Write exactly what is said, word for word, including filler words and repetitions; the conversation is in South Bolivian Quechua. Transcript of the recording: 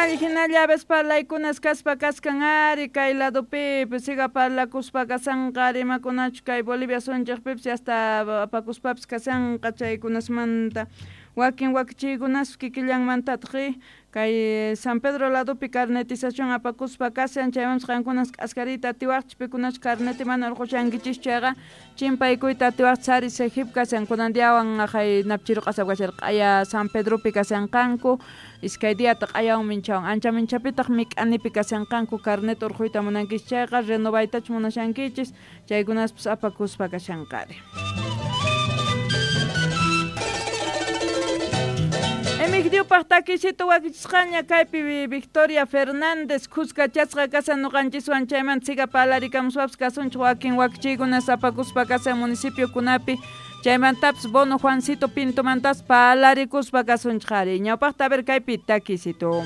Hinalla hinalla aves parlaykunas kaspa kaskan ari kay ladopipis siga parlakuspa kasanqa rimakunachu kay Bolivia sunchikpipis hasta apakuspapis kasanqa chaykunasmanta wakin wakichiykunas kikillanmantataq kay San Pedro ladopi carnetización apakuspa kasan chaymanpas qankunas k'askariyta atiwaqchis pikunachu carneti mana urqushankichischu chayqa chimpaykuyta atiwaqchis ari Sejip kasan kunan diawan aqhay napchiru q'asap kasharqa q'aya San Pedropi kasanqanku iskay diata q'ayawan minchawan ancha minchapitaq mik'anipi kasanqanku carnet urquyta munankichis chayqa renovaytachu munashankichis chaykunaspas apakuspa kashanqari. Emigdiupaq takisito wakichisqaña kaypi Victoria Fernández khuskachasqa kasan ñuqanchiswan chaymanta siga parlarikamuspapas kasunchik wakin wakichiykunas apakuspa kasan municipiokunapi chaymantapas Bono Juancito Pintomantas parlarikuspa kasunchik ari ñawpaqta a ver kaypi takisito.